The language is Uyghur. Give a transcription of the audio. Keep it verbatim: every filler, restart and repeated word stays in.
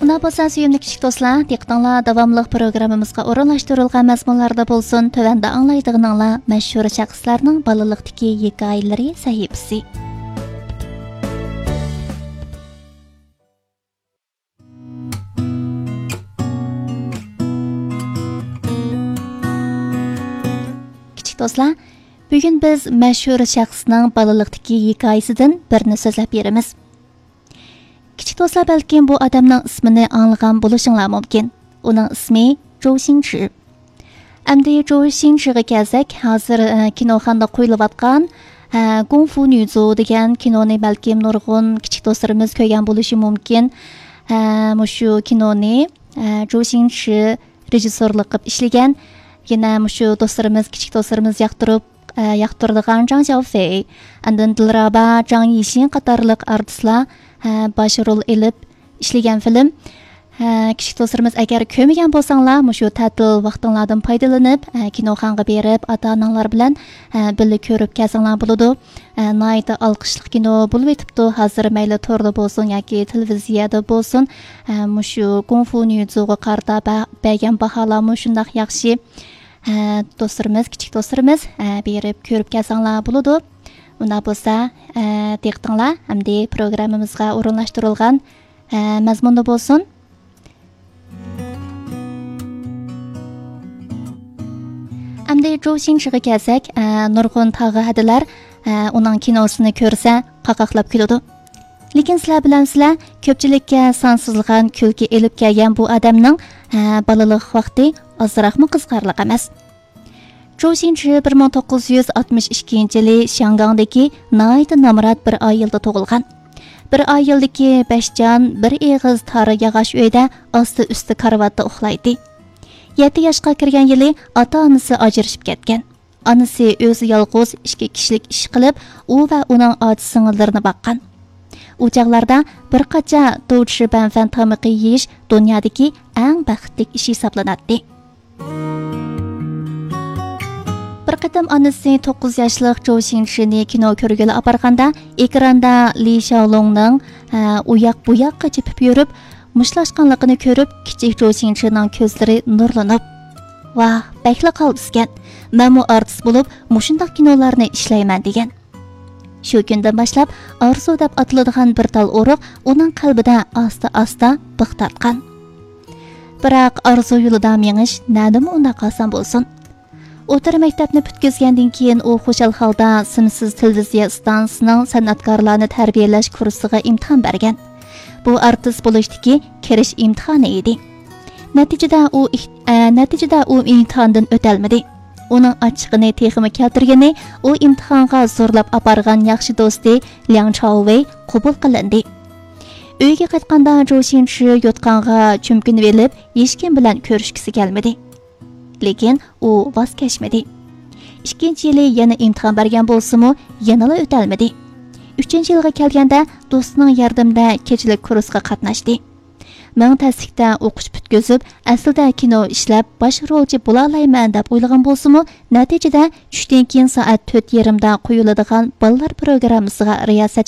شۇنداق بولسا، سۆيۈملۈك كىچىك دوستلار، دىققىتىڭلار داۋاملىق پروگراممىمىزغا ئورۇنلاشتۇرۇلغان مەزمۇنلاردا بولسۇن، تۆۋەندە ئاڭلايدىغىنىڭلار مەشھۇر شەخسلەرنىڭ بالىلىقتىكى ھېكايىلىرى سەھىپىسى. كىچىك دوستلار، بۈگۈن بىز مەشھۇر شەخسنىڭ بالىلىقتىكى ھېكايىسىدىن بىرنى سۆزلەپ بېرىمىز. كىچىك دوستلار بەلكىم بۇ ئادەمنىڭ ئىسمىنى ئاڭلىغان بولۇشۇڭلار مۇمكىن. ئۇنىڭ ئىسمى جو شىڭچى. ئەمدى جو شىڭچىغا كەلسەك، ھازىر، ئە، كىنوخانىدا قويۇلۇۋاتقان، ئە، گۇڭفۇ نيۇزۇ دېگەن كىنونى بەلكىم نۇرغۇن كىچىك دوستلىرىمىز كۆرگەن بولۇشى مۇمكىن. ئە، مۇشۇ كىنونى، ئە، جو شىڭچى رېژىسسورلۇق قىلىپ ئىشلىگەن. يەنە مۇشۇ دوستلىرىمىز، كىچىك دوستلىرىمىز ياقتۇرۇپ، ئە، ياقتۇرىدىغان جاڭ شياۋفېي، ئاندىن دىلرابا، جاڭ يىشىن قاتارلىق ئارتىسلار، ئە، باش رول ئېلىپ ئىشلىگەن فىلىم. ھە، كىچىك دوستلىرىمىز، ئەگەر كۆرمىگەن بولساڭلار، مۇشۇ تەتىل ۋاقتىڭلاردىن پايدىلىنىپ، ھە، كىنوخانىغا بېرىپ، ئاتا-ئاناڭلار بىلەن، ھە، بىللە كۆرۈپ كەلسەڭلار بولىدۇ. ھە، ناھايىتى ئالقىشلىق كىنو بولۇۋېتىپتۇ. ھازىر مەيلى توردا بولسۇن ياكى تېلېۋىزىيەدە بولسۇن، ھە، مۇشۇ گۇڭفۇ نيۇزۇغا قارىتا بە-، بەرگەن باھالارمۇ شۇنداق ياخشى. ھە، دوستلىرىمىز، كىچىك دوستلىرىمىز، ھە، بېرىپ كۆرۈپ كەلسەڭلار بولىدۇ. ئۇنداق بولسا، ھە، دىققىتىڭلار ئەمدى پروگراممىمىزغا ئورۇنلاشتۇرۇلغان، ھە، مەزمۇندا بولسۇن. ئەمدى جو شىڭچىغا كەلسەك، ئە، نۇرغۇن تاغا ھەدىلەر، ئە، ئۇنىڭ كىنوسىنى كۆرسە، قاقاقلاپ كۈلىدۇ. لېكىن سىلەر بىلەمسىلەر، كۆپچىلىككە سانسىزلىغان كۈلكە ئېلىپ كەلگەن بۇ ئادەمنىڭ، ئە، بالىلىق ۋاقتى ئازراقمۇ قىزىقارلىق ئەمەس. جو شىڭچى بىر مىڭ توققۇز يۈز ئاتمىش ئىككىنچى يىلى شياڭگاڭدىكى ناھايىتى نامرات بىر ئائىلىدە تۇغۇلغان. بىر ئائىلىدىكى بەش جان، بىر ئېغىز تار ياغاچ ئۆيدە ئاستى ئۈستى كارىۋاتتا ئۇخلايتتى. يەتتە ياشقا كىرگەن يىلى ئاتا-ئانىسى ئاجرىشىپ كەتكەن. ئانىسى ئۆزى يالغۇز ئىككى كىشىلىك ئىش قىلىپ، ئۇ ۋە ئۇنىڭ ئاچا-سىڭىللىرىنى باققان. ئۇ چاغلاردا بىر قاچا دوچشى بەنفەن تامىقى يېيىش دۇنيادىكى ئەڭ بەختلىك ئىش ھېسابلىناتتى. بىر قېتىم ئانىسى توققۇز ياشلىق جو شىڭچىنى كىنو كۆرگىلى ئاپارغاندا، ئېكراندا لى شياۋلۇڭنىڭ، ھە، ئۇ ياق بۇ ياققا چېپىپ يۈرۈپ، مۇشتلاشقانلىقىنى كۆرۈپ، كىچىك جو شىڭچىنىڭ كۆزلىرى نۇرلىنىپ، «ۋاھ، بەكلا قالتىسكەن! مەنمۇ ئارتىس بولۇپ، مۇشۇنداق كىنولارنى ئىشلەيمەن» دېگەن. شۇ كۈندىن باشلاپ، ئارزۇ دەپ ئاتىلىدىغان بىر تال ئۇرۇق ئۇنىڭ قەلبىدە ئاستا-ئاستا بىخ تارتقان. بىراق، ئارزۇ يولىدا مېڭىش نەدىمۇ ئۇنداق ئاسان بولسۇن؟ ئوتتۇرا مەكتەپنى پۈتكۈزگەندىن كېيىن، ئۇ خۇشال ھالدا سىمسىز تېلېۋىزىيە ئىستانسىسىنىڭ سەنئەتكارلارنى تەربىيەلەش كۇرسىغا ئىمتىھان بەرگەن. بۇ ئارتىس بولۇشتىكى كىرىش ئىمتىھانى ئىدى. نەتىجىدە ئۇ ئىھ-، ئە، نەتىجىدە ئۇ ئىمتىھاندىن ئۆتەلمىدى. ئۇنىڭ ئاچچىقىنى تېخىمۇ كەلتۈرگىنى، ئۇ ئىمتىھانغا زورلاپ ئاپارغان ياخشى دوستى لياڭ چاۋۋېي قوبۇل قىلىندى. ئۆيگە قايتقاندا، جو شىنچى يوتقانغا چۆمكىنىۋېلىپ، ھېچكىم بىلەن كۆرۈشكۈسى كەلمىدى. لېكىن ئۇ ۋاز كەچمىدى. ئىككىنچى يىلى يەنە ئىمتىھان بەرگەن بولسىمۇ، يەنىلا ئۆتەلمىدى. ئۈچىنچى يىلغا كەلگەندە، دوستىنىڭ ياردىمىدە كېچىلىك كۇرسقا قاتناشتى. مىڭ تەسلىكتە ئوقۇش پۈتكۈزۈپ، ئەسلىدە كىنو ئىشلەپ، باش رولچى بولالايمەن دەپ ئويلىغان بولسىمۇ، نەتىجىدە چۈشتىن كېيىن سائەت تۆت يېرىمدا قويۇلىدىغان بالىلار پروگراممىسىغا رىياسەتچى